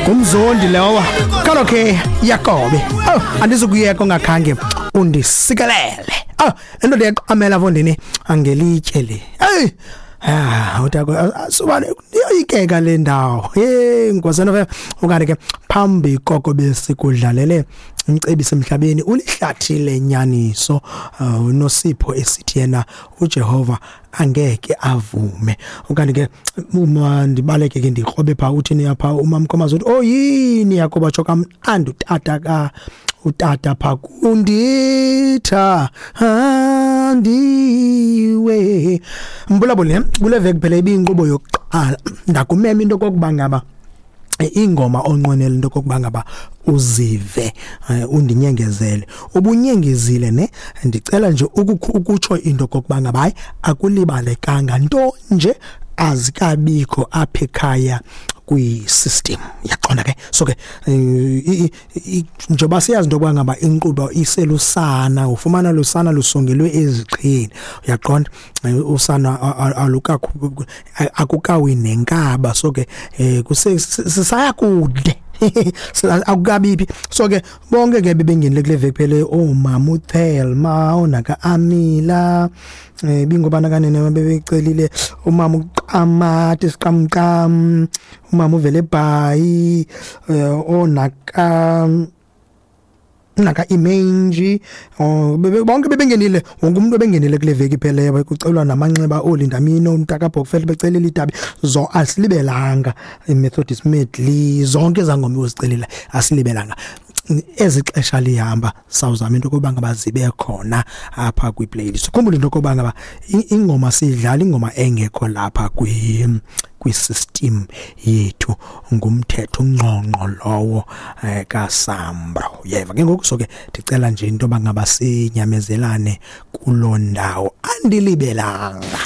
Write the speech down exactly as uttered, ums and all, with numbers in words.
Ngumzondi lowa kaloke Yakobe. Oh, andizukuyeka ungakhange undisikelele. Oh, lento ndiyaqamela mfondini angelitye le. Hey, ah, utako subane iyoyikeka le ndawo. Hey, Nkwazana, okanye ke phambi koko besikudlalele umcebisi emhlabeni ulihlathi lenyaniso, uh, uNosipho esithi yena uJehova angeke avume. Okanye ke uma ndibaleke ke ndikrobe pha, uthini apha uMamkhomazi? Uthi, "Oh yini Yakoba, tsho kamnandi utata ka utata pha kunditha andiwe." Mbulabule, kule veki phela ibiyinkqubo yokuqala, ndakumema into kokuba ngaba ingoma onqwenela into kokuba ngaba uzive, undinyengezele, ubunyengezile ne. Ndicela nje ukutsho into kokuba ngaba hayi, akulibalekanga nto nje, azikabikho apha ekhaya kwi-system, yaqonda ke. So ke njengoba siyazi into yokuba ngaba inkqubo iselusana, ufumana lusana lusongelwe eziqheni, uyaqonda, usana alukakho, akukawi nenkaba. So ke kuse sisaya kude, akukabiphi. So ke bonke ke bebengenile kule veki phele, oomama uThelma, onaka Amila, eh bingobana kanene bebecelile, umama uQamati siqamqam, umama uvele ebhayi, onaka naka imenji, bonke bebengenile, wonke umuntu obengenile kule veki ipheleyo. Kucelwa namanxeba oolindamino, umntaka Bhokfele becelile idabi zo, asilibelanga iMethodist medley, zonke ezangoma uzicelile asilibelanga. Ezixesha lihamba sawuzama into yokuba ngaba zibe khona apha kwi-playlist. Khumbula into yokuba ngaba ingoma siyidlala ingoma engekho lapha kwi kwi-system yethu, ngumthetho ungqongqo lowo eh, kaSAMRO, uyeva ke ngoku. So ke ndicela nje into yoba ngaba sinyamezelane kuloo ndawo, andilibelanga.